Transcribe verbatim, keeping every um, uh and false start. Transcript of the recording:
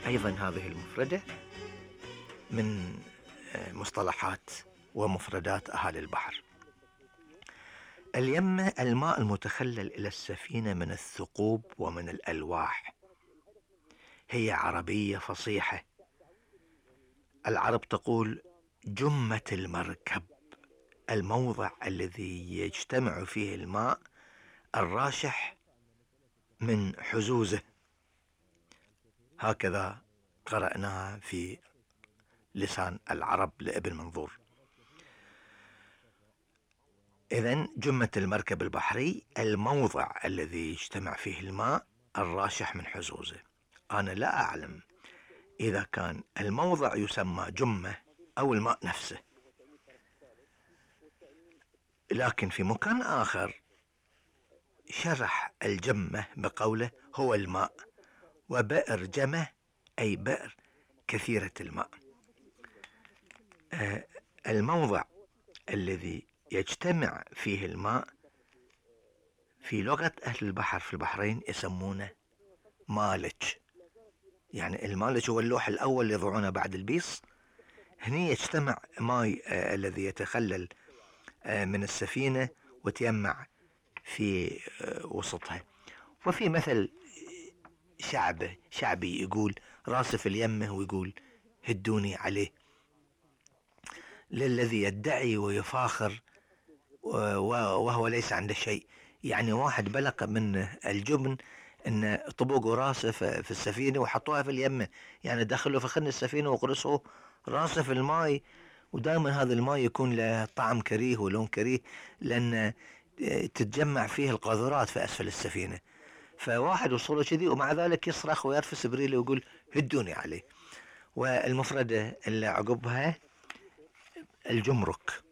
أيضا هذه المفردة من مصطلحات ومفردات أهالي البحر. اليمة الماء المتخلل إلى السفينة من الثقوب ومن الألواح. هي عربية فصيحة. العرب تقول جمة المركب، الموضع الذي يجتمع فيه الماء الراشح من حزوزه. هكذا قرأناها في لسان العرب لابن منظور. إذن جمة المركب البحري الموضع الذي يجتمع فيه الماء الراشح من حزوزه. أنا لا أعلم إذا كان الموضع يسمى جمة أو الماء نفسه، لكن في مكان آخر شرح الجمة بقوله هو الماء، وبئر جمة أي بئر كثيرة الماء. آه الموضع الذي يجتمع فيه الماء في لغة أهل البحر في البحرين يسمونه مالج. يعني المالج هو اللوح الأول اللي يضعونه بعد البيص. هني يجتمع ماء آه الذي يتخلل آه من السفينة وتيمع في آه وسطها. وفي مثل شعبه شعبي يقول راسف اليمه ويقول هدوني عليه، للذي يدعي ويفاخر وهو ليس عنده شيء. يعني واحد بلغ من الجبن ان طبقوا راسه في السفينة وحطوها في اليمة، يعني دخلوا في خن السفينة وقرصوا راسه في الماء. ودائما هذا الماء يكون له طعم كريه ولون كريه، لان تتجمع فيه القاذورات في اسفل السفينة. فواحد وصوله كذي ومع ذلك يصرخ ويرفس بريله ويقول هدوني عليه. والمفردة اللي عقبها الجمرك.